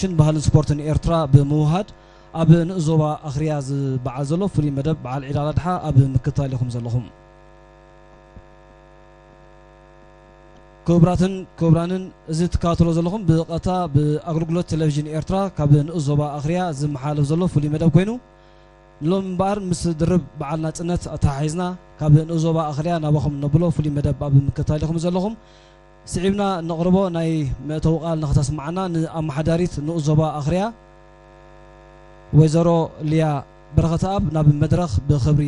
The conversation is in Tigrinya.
ኮሚሽን ባህልን ስፖርትን ኤርትራ ብምውሃድ ኣብ ንኡስ ዞባ ኣኽርያ ዝበዓል ዘሎ ፍሉይ መደብ በዓል ዒድ ኣል ኣድሓ ኣብ ምክትታል ኢኹም ዘለኹም። ክቡራትን ክቡራንን፣ እዚ ትከታተሎ ዘለኹም ብቐጥታ ብኣገልግሎት ቴሌቪዥን ኤርትራ ካብ ንኡስ ዞባ ኣኽርያ ዝመሓላለፍ ዘሎ ፍሉይ መደብ ኮይኑ፣ ሎም እምበኣር ምስ ድርብ በዓል ናጽነት ኣተሓሒዝና ካብ ንኡስ ዞባ ኣኽርያ ናባኹም ነብሎ ፍሉይ መደብ ኣብ ምክትታል ኢኹም ዘለኹም። ስዒብና ነቕርቦ ናይ መእተዊ ቃል ንኸተስምዓና ንኣመሓዳሪት ንኡስ ዞባ ኣኽርያ ወይዘሮ ሊያ በረኸተኣብ ናብ መድረኽ ብኽብሪ